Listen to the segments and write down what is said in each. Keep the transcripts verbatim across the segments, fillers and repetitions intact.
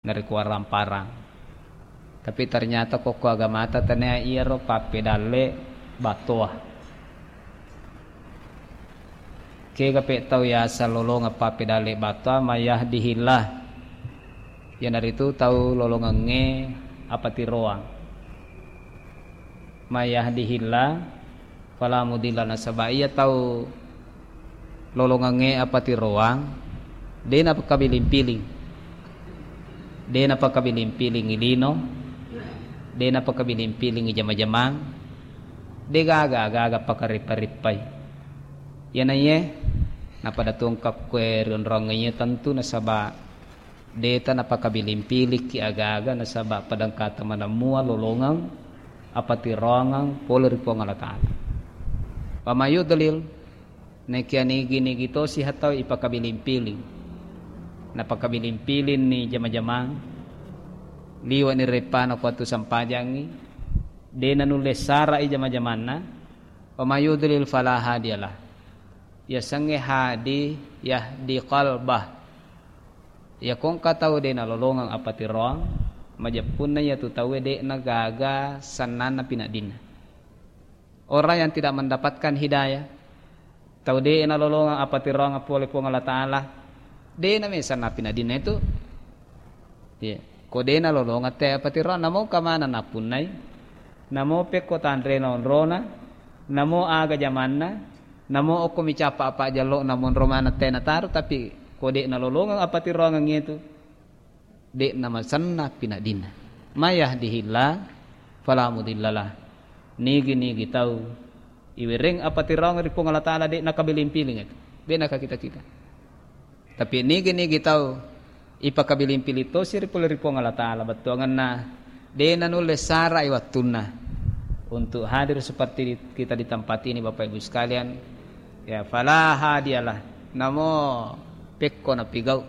narekko warang-parang. Tapi ternyata kokko agamata tania iyaro pappedalle battoa. Kega pe tau yaseng lolongeng pappedalle battoa, mayahdihillah. Iyanaritu tau lolongengnge apatiroang. Mayahdihillah fala mudilla, nasaba iya tau lolongengnge apatiroang, de napakabiling-piling. De napakabiling-piling i lino, de napakabiling-piling i jama-jamang, de gaga, gaga pakarippa-rippai. Iyanaiye napada tongkakkue ri onrongeng iye tentu nasaba deta napakabiling-pilikki aga-aga nasaba padangkata manemmua lolongeng apatiroangeng pole ri Puang Allah Ta'ala. Wa mayudlil, naekia nigi-nigi tosi hatau ipakabiling-piling. Napakabiling-piling ni jama-jamang, liwa ni reppana ko wettu sempajangngi, de nanulle sarai jama-jamanna, wa mayudlil fala hadiyalah. Yasengnge hadi yahdi qalbah. Iya kongka tau de nalolongeng apatiroang, majeppunna iyatu tauwe de'na gaga sennanna pinaddinna. Orang yang tidak mendapatkan hidayah, tau de nalolongeng apatiroang pole Puang Allah Ta'ala, de name sennang pinaddinna itu. Iya. Ko de nalolongeng te apatiroang, namo kamana nappunnai, namo pekko tanrena onrona, namo aga jamanna, namo okko micappa apa jallo na monro maneng te nataro, tapi ko de nalolongeng apatiroangeng itu, de namasenna pinaddinna. Mayahdihillah fala mudillalah. Nigi-nigi tau iwereng apatiroangeng ri Puang Allah Ta'ala de nakabiling-piling itu. De nakakita-kita. Tapi nigi-nigi tau ipakabiling-piling tosi ri pole ri Puang Allah Ta'ala, bettuangenna de nanulle sarai wattunna untuk hadir seperti di-, kita di tempat ini, Bapak Ibu sekalian. Ya, fala hadiyalah. Namo pekko napigau,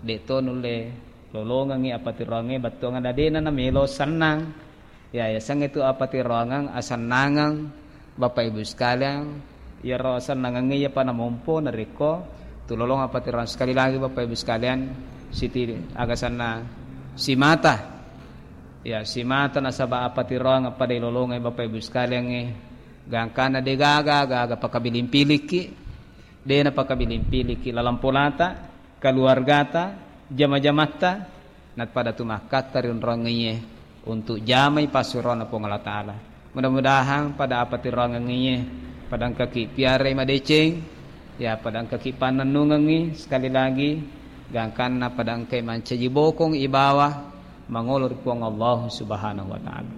de to nulle lolongengngi apatiroangnge, bettuangenna de na namelo sennang. Ya, yasengnge tu apatiroangeng asennangeng, Bapak Ibu sekalian, iyaro asennangengnge iyapa namompo narekko tulolong apatiroang. Sekali lagi, Bapak Ibu sekalian, siti agasanna simata. Ya, simata nasaba apatiroang pada ilolongengnge, Bapak Ibu sekalian, eh, gangkanna de gaga, gaga pakabiling-pilikki, de napakabiling-pilikki laleng polata, keluargata, jama-jamatta, napada tu makkatta ri onrongeng iye untuk jamai passuroanna Puang Allah Ta'ala. Mudah-mudahan pada apatiroangeng iye pada engkaki piarai madeceng, ya, pada engkaki pannennungengngi, sekali lagi gangkanna pada engkai mancaji bokong ibawa mangolo ri Puang Allah Subhanahu wa Ta'ala.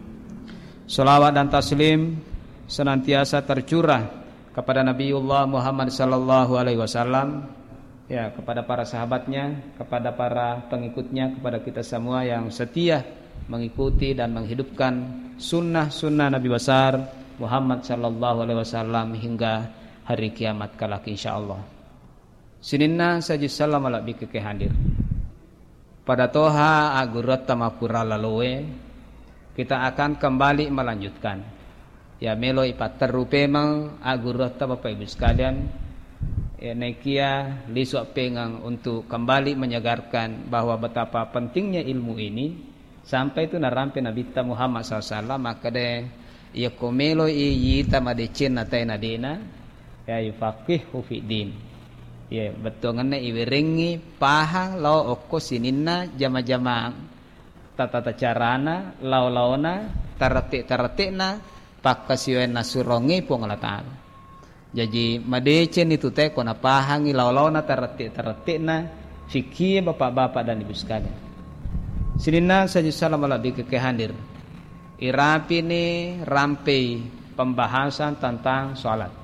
Salawat dan taslim senantiasa tercurah kepada Nabiullah Muhammad sallallahu alaihi wasallam, ya, kepada para sahabatnya, kepada para pengikutnya, kepada kita semua yang setia mengikuti dan menghidupkan sunnah-sunnah Nabi besar Muhammad sallallahu alaihi wasallam hingga hari kiamat kelak, insyaallah. Sininna saji sallam malebbi ke hadir. Pada toha agguruatta mappura laloe, kita akan kembali melanjutkan. Ya, melo ipatterru pemeng agguruatta, Bapak Ibu sekalian. Ya, naikia lisu appengeng untuk kembali menyegarkan bahwa betapa pentingnya ilmu ini, sampai tu narampe Nabitta Muhammad sallallahu alaihi wasallam makkeda, iyako meloi yita madecenna tae nadena, ya, yufaqihu fid din. Ya, bettuangenna iwerengngi pahang lao okko sininna jama-jamang, tata carana, lao-laona, tarette-tarette'na, pakkasiwiang nassurongngi Puang Allah Ta'ala. Jaji, madecenni tu tae ko napahangi lao-laona tarette-tarette'na fikkie bapak-bapak dan ibu sekalian. Sininna saji sallam malebbi ke hadir. Irapini rampei pembahasan tentang sholat.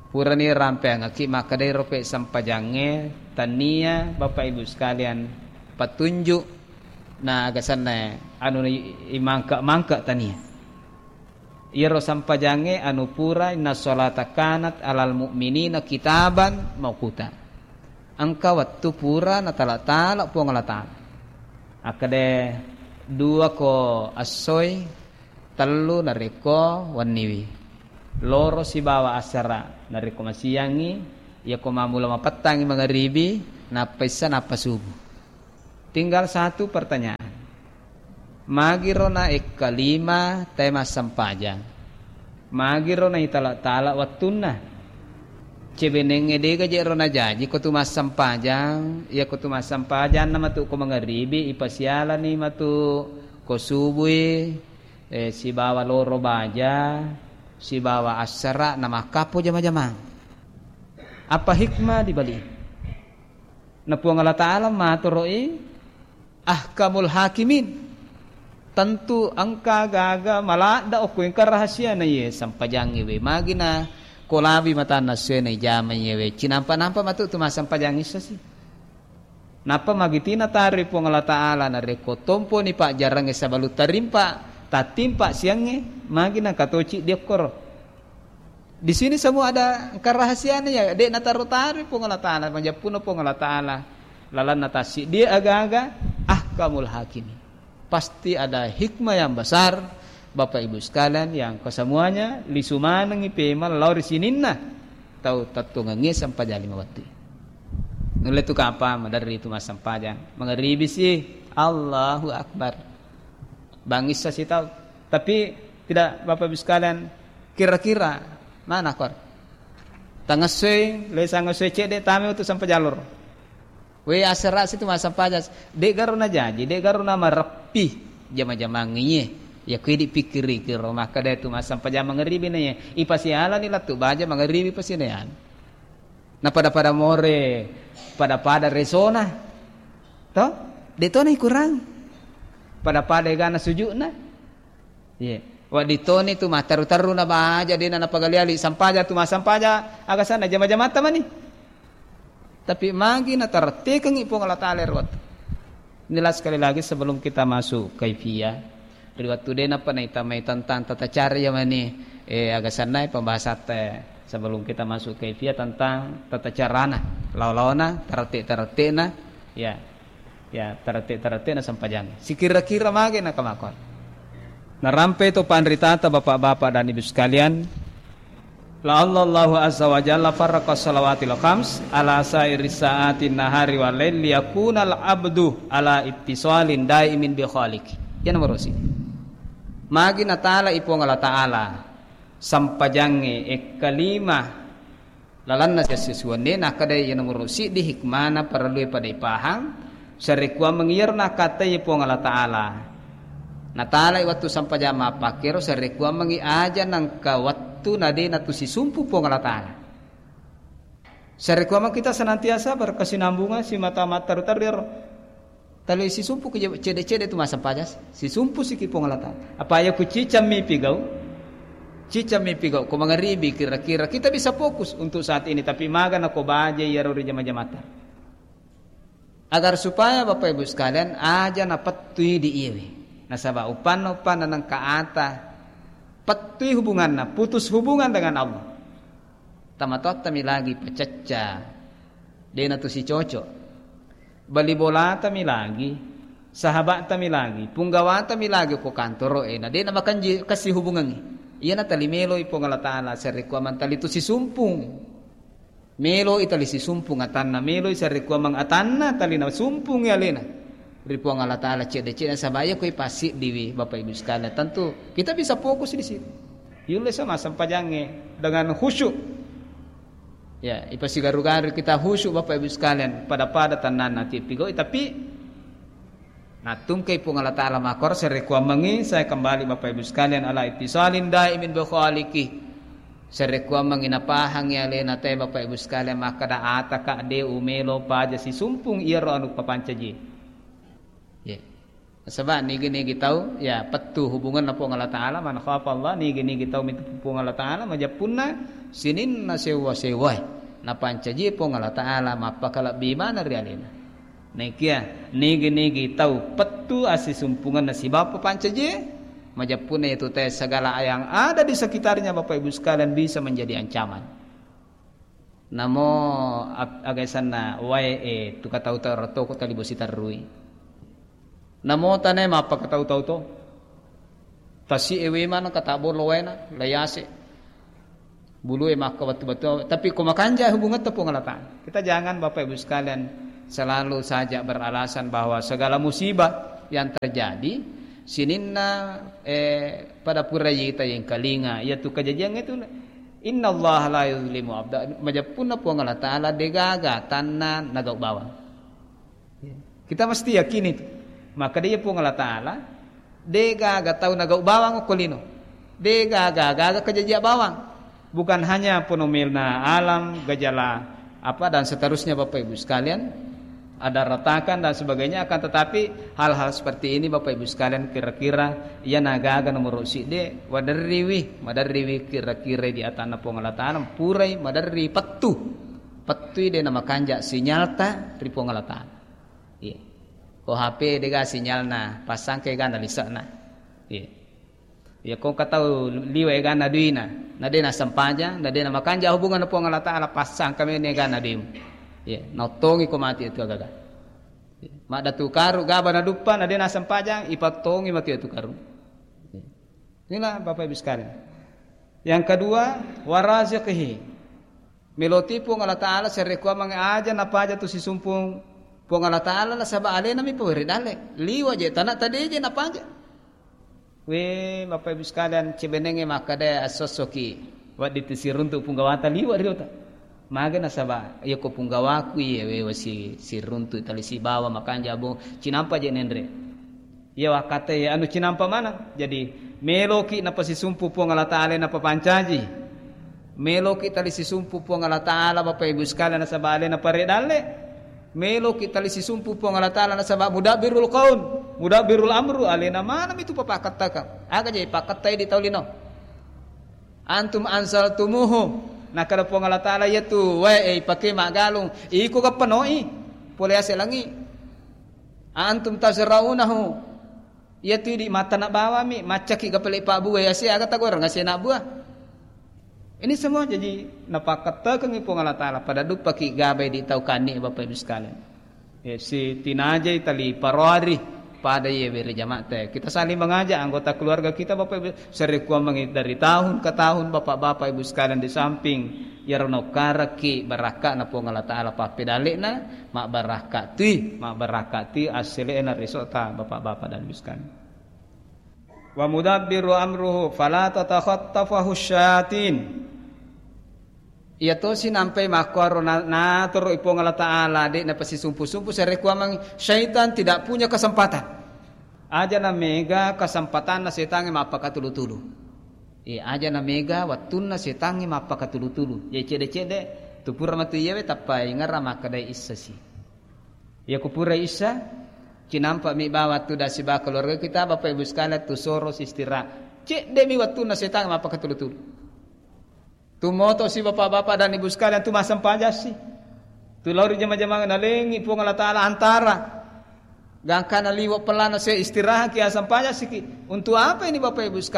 Purani rampeangaki makkedai rope sempajangnge, tania bapak ibu sekalian petunjuk na agasanna anu imangka-mangka tania. Iyaro sampajangnge anu pura, inna sholata kanat alal mu'minina kitaban mauquta. Engka wettu pura natala-tala Puang Allah Ta'ala. Akkeda dua ko essoi, tellu narekko wenniwi. Loro sibawa asara narekko masiangngi, iyako mammula mapettangngi mangaribi, nappa issa, nappa subuh. Tinggal satu pertanyaan. Magiro na ekkalima tae massempajang? Magiro na itala-tala wettunna? Cebenengnge dega je ro najaji ko tu massempajang, iya ko tu massempajang na matu ko mangaribi, ipasialani matu ko subui, eh, sibawa loro baja, sibawa assara, na makkappo jama-jamang. Apa hikmah di balik? Na Puang Allah Ta'ala matoro'i ahkamul hakimin. Tentu engka gaga maladda okko engka rahasiana iye sampajangnge we. Magina kolabi matanna suena ijama iye we. Cinampa-nampa matu tu massempajang issa si. Nappa magitina taroi Puang Allah Ta'ala narekko tomponi pajjarangnge sabalu tarimpa, tattimpa siangnge, magina katoci diokkoro. Di sini semua ada kerahasiaannya, ya, dek nataro-taro Puang Allah Ta'ala, majeppuno Puang Allah Ta'ala. Lalanna tassi dia aga-aga ahkamul hakimin. Pasti ada hikmah yang besar, Bapak Ibu sekalian, yang kesemuanya lisu manengi pema lao ri sininna tau tattongengi sempajang lima wettu. Nulle tu kapa maderri tu massempajang. Mangaribi si, Allahu Akbar. Bangissa si tau. Tapi tidak, Bapak Ibu sekalian, kira-kira mana kor? Tangessoe, lesa ngessoe cedde tame untuk sempajang loro. We, asera situ massempajang. Dek garo na jaji, dek garo na mareppi jama-jamang iye. Ya kui dipikkiri kiro makkeda tu massempajang mangaribi na iye. Ipasialani lattu baja mangaribi pasinean. Na pada-pada more, pada-pada resona. To? De tona ikurang. Pada-pada egana sujukna. Iye. Wedding toni tu matteru-teru na baja dena napagali-ali sampaja tu massampaja aga sanna jama-jamata mani. Tapi magi natarettekengngi Puang Allah Ta'ala ero wettu. Inilah sekali lagi sebelum kita masuk kaifiyah, ri wettu de nappa naitamai tentang tata cara ya mani, eh, aga sanna pembahasatta sebelum kita masuk kaifiyah tentang tata carana, lao-laona, tarette-tarettena, ya. Ya, tarette-tarettena sempajang. Sikira-kira mage nakamakon. Narampe to panritata bapak-bapak dan ibu sekalian, la Allahu azza wa jalla farraqa salawatil khams ala sairi sa'atin nahari wal lail liyakunal abdu ala ittisalin daimin bi khaliq. Ya nomor usi. Magi natala i Puang Allah Ta'ala sampajangnge ekkalima lalanna sessusuwanne, nakkeda iya nomoro siddi hikmana parellue pada ipahang, sarekkuammengngi iyaro nakkatai Puang Allah Ta'ala. Natalai wettu sampajang mappakkero, sarekkuammengngi aja nangka wettu nade natusisumpu Puang Allah Ta'ala. Sarekkuammeng kita senantiasa berkesinambungan simata matteru-teru iyaro. Tali sisumpu ke cede-cede tu masa pajas, sisumpu siki Puang Allah Ta'ala. Apa ya ku cicammi pigau, cicammi pigau, ko mangaribi kira-kira kita bisa fokus untuk saat ini, tapi maga na ko baje iyaro ri jama-jamata. Agar supaya Bapak Ibu sekalian aja napettui di iwe. Nasaba upanna-upanna nengka ata, pettui hubunganna, putus hubungan dengan Allah. Tamatoattami lagi pacacca, dena tu sicocok. Bali bolatami lagi, sahabattami lagi, punggawatami lagi ko kantoro e, na dena makanji kasi hubungangi. Iyana tali meloi Puang Allah Ta'ala, sarekkuameng tali tu sisumpung. Meloi tali sisumpung atanna, meloi sarekkuameng atanna tali nasumpungi alena. Ri Puang Allah Ta'ala cedde-cedde, nasaba iya koi passiddiwi, Bapak Ibu sekalian. Tentu kita bisa fokus di situ. Yulle sama sempajangnge dengan khusyuk. Ya, ipasigaru-garu kita khusyuk, Bapak Ibu sekalian, pada-pada tennanna tippigau'i, tapi nattungkai Puang Allah Ta'ala makor, sarekkuammengngi, saya kembali Bapak Ibu sekalian, ala ittisalin daimin bi khaliqi. Sarekkuammengngi napahangngi alena te Bapak Ibu sekalian, makkeda ataka de umelo paja sisumpung iyaro anu papancaji. Ya. Nasaba nigi-nigi tau, ya, pettu hubunganna Puang Allah Ta'ala, man khafa Allah, nigi-nigi tau mitu Puang Allah Ta'ala, majeppunna sininna sewwa-sewwae. Napancaji Puang Allah Ta'ala, mappakalebbi maneng ri alena. Naikia, nigi-nigi tau pettu assisumpungenna sibawa papancaji, majeppunna itu te segala yang ada di sekitarnya Bapak Ibu sekalian bisa menjadi ancaman. Namo ap-, aga isanna wae e, tu katau-tau ratoko tali bosi tarrui. Namo tane mappakatau-tau to. Tasi ewe mana kata bolo waena, layase. Bulu e makka batu-batu, tapi ko makanja hubungan te Puang Allah Ta'ala. Kita jangan Bapak Ibu sekalian Selalu saja beralasan bahwa segala musibah yang terjadi sininna, eh, pada pura yita yang kalinga, yaitu kejadian itu, innallaha la yuzlimu abda, majeppunna Puang Allah Ta'ala degaga tanna nagau bawang. Kita mesti yakini itu. Maka dia Puang Allah Ta'ala degaga tau nagau bawang okko lino. Degaga gaga kejajia bawang. Bukan hanya fenomena alam, gejala apa dan seterusnya, Bapak Ibu sekalian, ada retakan dan sebagainya, akan tetapi hal-hal seperti ini, Bapak Ibu sekalian, kira-kira iya nagaga nomor sidde, waderriwi, maderriwi kira-kira di atanna Puang Allah Ta'ala, purai maderri pettu. Pettui de namakanja sinyalta ri Puang Allah Ta'ala. Iya. Ko H P dega sinyalna, passangke gana lisekna. Iya. Iya, ko engka tau liwa egana duina, na de nasempajang, na de namakanja hubungan Puang Allah Ta'ala, passangka meni egana duimu. Iya, naottongi ko mati itu agaga. Iya. Madda tu karu gaba na duppa, na de nasempajang, ipattongi mati itu karu. Iya. Inilah Bapak Ibu sekalian. Yang kedua, waraziqihi. Meloti Puang Allah Ta'ala, serekua mange aja napaja tu sisumpung Puang Allah Ta'ala, nasaba alena mi pawere dalle. Liwa je, tana tade je napaja. We, Bapak Ibu sekalian, cebenenge makkada assossoki. Waddi tu siruntu punggawata liwa riota. Maga nasaba, iya ko punggawaku iya we wasi siruntu tali sibawa makanja abong cinampa je nenre. Iya wakkata iya anu cinampa maneng. Jadi, meloki napasisumpu Puang Allah Ta'ala napapancaji. Meloki tali sisumpu Puang Allah Ta'ala, Bapak Ibu sekalian, nasaba alena pare dalle. Meloki tali sisumpu Puang Allah Ta'ala nasaba mudabbirul qaum, mudabbirul amru, alena maneng itu papakkattaka. Aga je pakkattai di tau lino. Antum anzaltumuhu, nakada Puang Allah Ta'ala, iyatu wae e ipake maggalung, iko gappanoi pole ase langi. Antum tazraunahu, iyatu idi mattana bawami, maccaki gapale pabbua ase aga tagoreng ase nabbua. Ini semua jadi napakkattekengngi Puang Allah Ta'ala pada duppaki gabai di tau kanni, Bapak Ibu sekalian. Ya, si tinajai tali parori pada ye bere jamaah te. Kita saling mengajak anggota keluarga kita, Bapak Ibu, serekuammengi dari tahun ke tahun, Bapak-bapak Ibu sekalian, di samping iyaro nokkaraki barakka'na Puang Allah Ta'ala pappedalle'na, mabbarakka tui, mabbarakka tui assele'na resota Bapak-bapak dan Ibu sekalian. Wa mudabbiru amruhu fala tatakhattafahu syayatin. Iya tosi nampai makkuaro na-, natoro i Puang Allah Ta'ala, de' napasisumpu-sumpu, sarekkuamang syaitan tidak punya kesempatan. Aja na mega kesempatanna setangnge mappakatulu-tulu. Iya, aja na mega wattunna setangnge mappakatulu-tulu. Iya, cedde-cedde, tu pura matu iyawe tappa ingerra makkadai issasi. Iya, ku pura issa, cinampa mi bawang tu dasiba keluarga kita, Bapak Ibu sekalian, tu soro si istirahat. Cedde mi wattunna setangnge mappakatulu-tulu. Tu moto si bapak-bapak dan ibu sekalian, tu massempajang si. Tu lao ri jama-jamang nalengi Puang Allah Ta'ala antara. Gangkana liwa pelana se istirahat ki, assempajang siki. Untuk apa ini Bapak Ibu sekalian?